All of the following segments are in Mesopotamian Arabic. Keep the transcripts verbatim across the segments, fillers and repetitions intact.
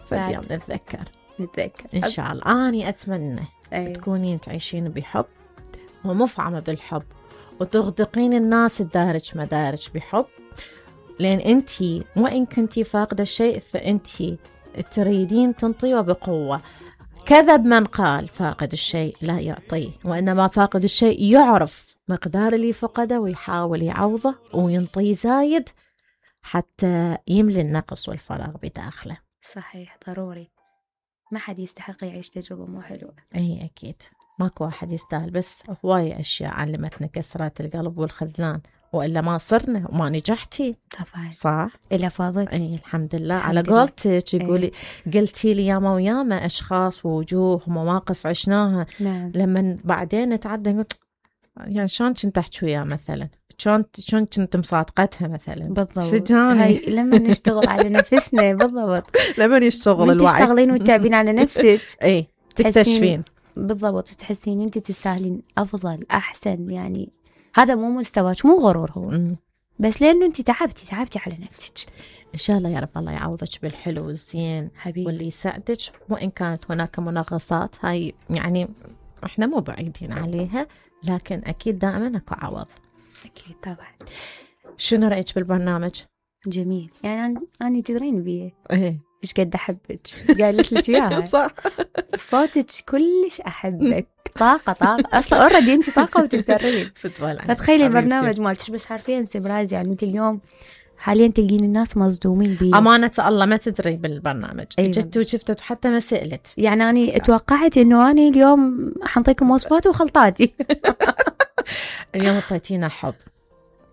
فاليوم نتذكر نتذكر إن شاء الله. أني أتمنى أيه. تكونين تعيشين بحب ومفعمة بالحب وتغدقين الناس الدارج مدارج بحب، لأن أنتي وإن كنتي فاقدة الشيء فأنتي تريدين تنطيه بقوة. كذب من قال فاقد الشيء لا يعطيه، وإنما فاقد الشيء يعرف مقدار اللي فقده ويحاول يعوضه وينطيه زايد حتى يملي النقص والفراغ بداخله. صحيح، ضروري. ما حد يستحق يعيش تجربة مو حلوة. أي أكيد، ماكو واحد يستاهل، بس هواية أشياء علمتنا كسرات القلب والخذلان، وإلا ما صرنا وما نجحتي. طبعا صح. إلا فاضل. أي الحمد لله. الحمد على قولتك يقولي أي. قلتي لي ياما وياما أشخاص ووجوه ومواقف عشناها. نعم. لما بعدين نتعدى قلت يعني شلون كنت أحكي وياه مثلا، شلون شلون كنت مصادقتها مثلا. بالضبط. شجاني. هاي لما نشتغل على نفسنا. بالضبط. لما يشتغل الوعي. تشتغلين وتتعبين على نفسك. اي تكتشفين. بالضبط، تحسين انت تستاهلين افضل احسن. يعني هذا مو مستواك، مو غرور هو. م. بس لانه انت تعبتي تعبتي على نفسك. ان شاء الله يا رب الله يعوضك بالحلو والزين حبيبي، واللي يساعدك. وان كانت هناك منغصات هاي يعني احنا مو بعيدين عليها، لكن اكيد دائما اكو عوض. اكيد طبعا. شنو رايك بالبرنامج؟ جميل. يعني انا تدرين بيه ايه ايش قد احبك، قالت لك اياها. صح. صوتك كلش احبك. طاقه طاقه اصلا اوريدي انت طاقه وتقدرين. فتخيلي البرنامج مالتش بس حرفيا سبرايز. يعني انت اليوم حاليا تلقين الناس مصدومين بيه. امانه الله ما تدري بالبرنامج. أيوة. جت وشفت حتى ما سالت. يعني انا توقعت انه انا اليوم حنطيكم وصفات وخلطاتي. اليوم اعطيتينا حب،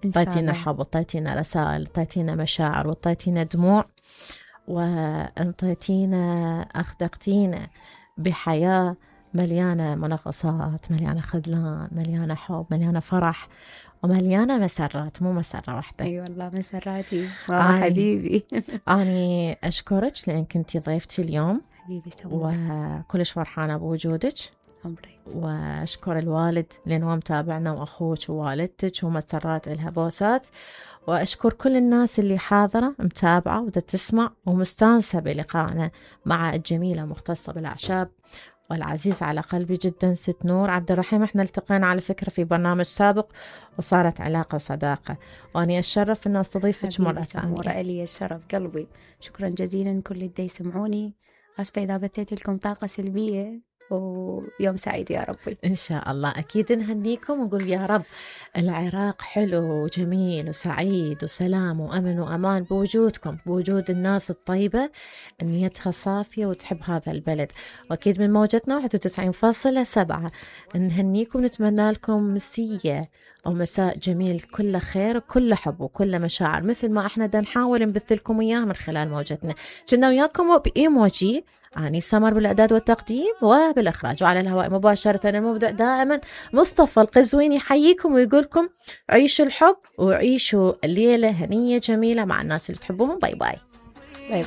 اعطيتينا حب، اعطيتينا رسائل، اعطيتينا مشاعر، واعطيتينا دموع، وانطيتينا أخذقتينا بحياة مليانة منغصات، مليانة خذلان، مليانة حب، مليانة فرح، ومليانة مسرات، مو مسرة واحدة. أي والله مسراتي. آه حبيبي. أنا أشكرك لأن كنتي ضيفتي اليوم. حبيبي سمو. وكلش فرحانة بوجودك. عمري. وأشكر الوالد لأنه متابعنا، وأخوك ووالدتك، ومسرات إلها بوسات. وأشكر كل الناس اللي حاضرة متابعة ودا تسمع ومستانسة بلقائنا مع الجميلة مختصة بالأعشاب والعزيز على قلبي جدا ست نور عبد الرحيم. احنا التقينا على فكرة في برنامج سابق وصارت علاقة وصداقة، وأنا أتشرف أن أستضيفك مرة ثانية. مرة لي الشرف قلبي. شكرا جزيلا كل اللي يسمعوني. أسفة إذا بثيت لكم طاقة سلبية، ويوم سعيد يا ربي. إن شاء الله. أكيد نهنيكم ونقول يا رب العراق حلو وجميل وسعيد وسلام وأمن وأمان بوجودكم، بوجود الناس الطيبة نيتها صافية وتحب هذا البلد. وأكيد من موجتنا واحد وتسعين فاصلة سبعة نهنيكم، نتمنى لكم مسية أو مساء جميل كله خير وكله حب وكله مشاعر، مثل ما احنا دا نحاول نبث لكم إياه من خلال موجتنا. كنا وياكم بإيموجي، أني سمر بالإعداد والتقديم وبالإخراج، وعلى الهواء مباشرة المبدع دائما مصطفى القزويني يحييكم ويقولكم عيشوا الحب وعيشوا الليلة هنية جميلة مع الناس اللي تحبوهم. باي باي.